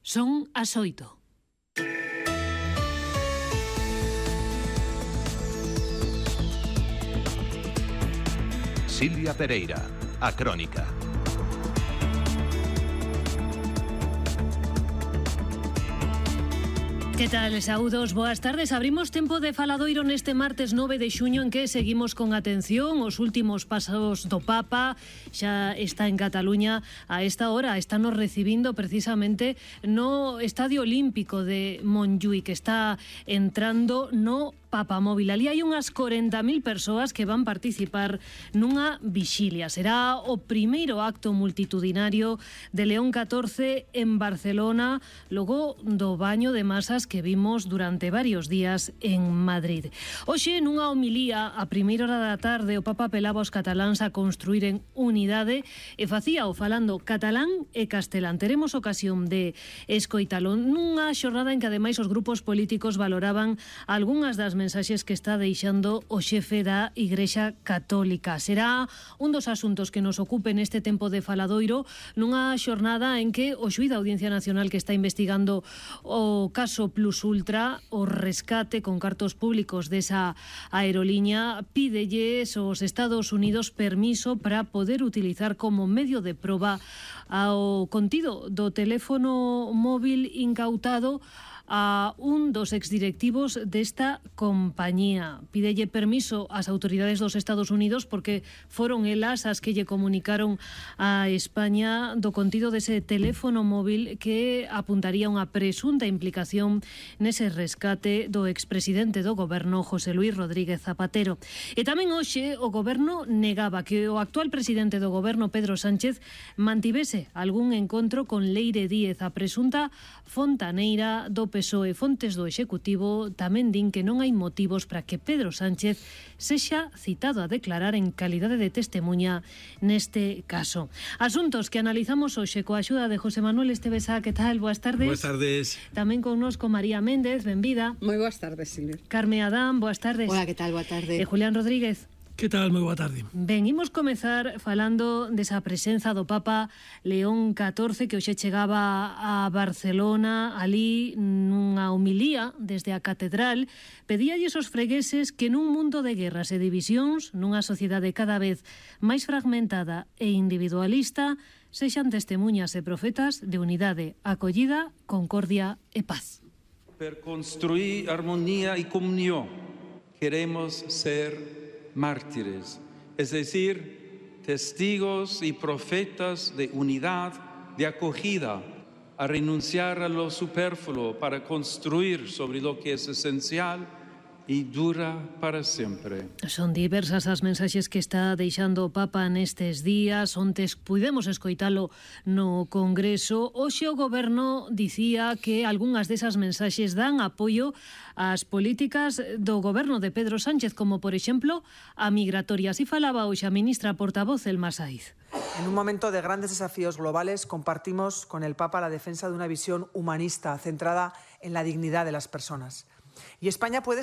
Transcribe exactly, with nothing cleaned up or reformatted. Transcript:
Son as oito. Silvia Pereira, a Crónica. Que tal, saúdos, boas tardes. Abrimos tempo de faladoiro neste martes nove de xuño en que seguimos con atención os últimos pasos do Papa. Xa está en Cataluña a esta hora, estános recibindo precisamente no Estadio Olímpico de Montjuïc, que está entrando no Papamóvil. Ali hai unhas corenta mil persoas que van participar nunha vixilia. Será o primeiro acto multitudinario de León catorce en Barcelona, logo do baño de masas que vimos durante varios días en Madrid. Hoxe, nunha homilía, a primeira hora da tarde, o Papa apelaba aos cataláns a construíren unidade e facía o falando catalán e castelán. Teremos ocasión de escoitalo nunha xornada en que ademais os grupos políticos valoraban algunhas das mensaxes que está deixando o xefe da Igrexa Católica. Será un dos asuntos que nos ocupe neste tempo de faladoiro nunha xornada en que o xuíz da Audiencia Nacional que está investigando o caso Plus Ultra, o rescate con cartos públicos desa aeroliña, pídelles aos Estados Unidos permiso para poder utilizar como medio de proba ao contido do teléfono móvil incautado a un dos exdirectivos desta compañía. Pídelle permiso ás autoridades dos Estados Unidos porque foron elas as que lle comunicaron a España do contido dese teléfono móvil que apuntaría unha presunta implicación nese rescate do expresidente do goberno José Luis Rodríguez Zapatero. E tamén hoxe o goberno negaba que o actual presidente do goberno Pedro Sánchez mantivese algún encontro con Leire Díez, a presunta fontaneira do P S O E. Fontes do Executivo tamén din que non hai motivos para que Pedro Sánchez sexa citado a declarar en calidade de testemuña neste caso. Asuntos que analizamos hoxe coa axuda de José Manuel Estevesa. Que tal? Boas tardes. Boas tardes. Tamén connosco María Méndez, benvida. Moi boas tardes, Silvia. Carme Adán, boas tardes. Hola, que tal? Boa tarde. E Julián Rodríguez. Que tal? Moi boa tarde. Ben, imos comezar falando desa presenza do Papa León catorce que hoxe chegaba a Barcelona. Ali, nunha homilía desde a catedral, pedíalles aos fregueses que nun mundo de guerras e divisións, nunha sociedade cada vez máis fragmentada e individualista, sexan testemuñas e profetas de unidade, acollida, concordia e paz. Per construir armonía y comunión queremos ser mártires, es decir, testigos y profetas de unidad, de acogida, a renunciar a lo superfluo para construir sobre lo que es esencial e dura para sempre. Son diversas as mensaxes que está deixando o Papa nestes días. Ontes pudemos escoitalo no Congreso. Hoxe o Goberno dicía que algunhas desas mensaxes dan apoio ás políticas do Goberno de Pedro Sánchez, como por exemplo a migratoria. Así falaba hoxe a ministra portavoz Elma Saiz. En un momento de grandes desafíos globales compartimos con el Papa la defensa de una visión humanista centrada en la dignidad de las personas. Y España puede